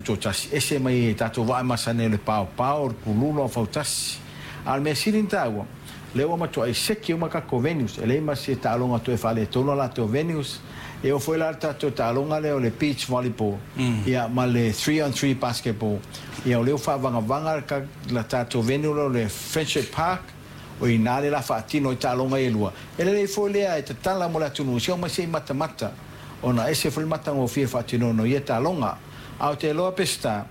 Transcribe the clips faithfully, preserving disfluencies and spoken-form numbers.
tutoatasi, ese mai tatou vaa masani o le paopao, o le pulula, o fautasi. A o le mea sili ona taua, lea ua matuai seki uma tatou venues, e leai ma se taaloga toe faaletonu a latou venues. E oo foi la le tatou taaloga lea o le beach volleyball, ia ma le three on three basketball. Ia o lea ua faavagavaga le tatou venue lea o le Friendship Park, o i ina lea o le a faatino ai taaloga ia e lua. E lelei foi lea e tatala mo le atunuu, se omai se i matamata, ona ese foi le matagofie faatinoina o ia taaloga. Ae ou te iloa Peseta,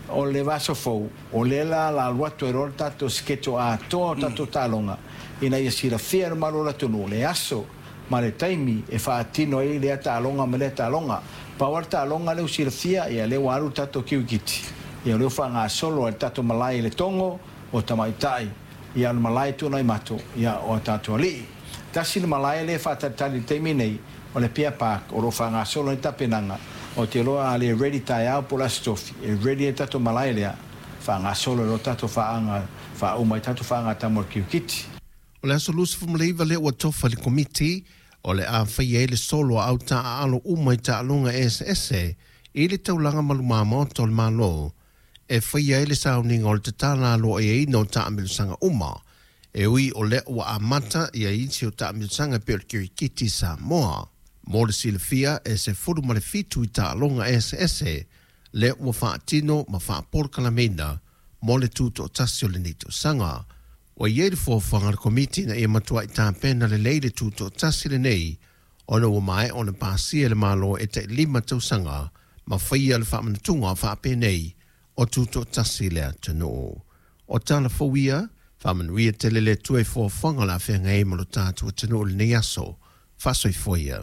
o le vaiaso fou, o lea la o le a alu atu ai loa le tatou schedule atoa o tatou taaloga, ina ia silafia e le mamalu o le atunuu le aso ma le taimi e faatino ai lea taaloga ma lea taaloga. Pau lava le taaloga lea ua silafia, ia lea ua alu le tatou kirikiti, ia o lea ua faagasolo ai le tatou malae i Letogo o tamaitai, ia o le malae i Tuanaimato, ia o a tatou alii. Tasi le malae lea e faatalitali i le taimi nei, o le Apia Park, o lo o faagasolo ai le tapenaga. Ou te iloa a le ready taeao po o le Aso Tofi, e ready ai le tatou malae lea, faagasolo ai loa tatou faaga, faauma ai tatou faaga mo le kirikiti. O le aso luasefulu ma iva lea ua tofa i le Komiti o le a faia ai le solo a au taaalo uma i taaloga eseese i le taulaga ma lumā maota o le Malo e faia ai le sauniga o le tatala aloaiaina o taamilosaga uma e ui o lea ua amata ia isi o taamilosaga e pei o le kirikiti Samoa. Mo le silafia e sefulu ma le fitu i taaloga eseese lea ua faatino ma faapolokalameina mo le tutoatasi o lenei tausaga. Ua i ai le fuafuaga a le Komiti ina ia matuai tapena lelei le tutoatasi lenei ona ua maea ona pasia e le Malo e tai lima tausaga ma faia le faamanatuga faapenei o tutoatasi le atunuu. O tala fou ia, faamanuia tele le Atua i fuafuaga o le a feagai ai ma lo tatou atunuu i lenei aso. Faasoifua ia.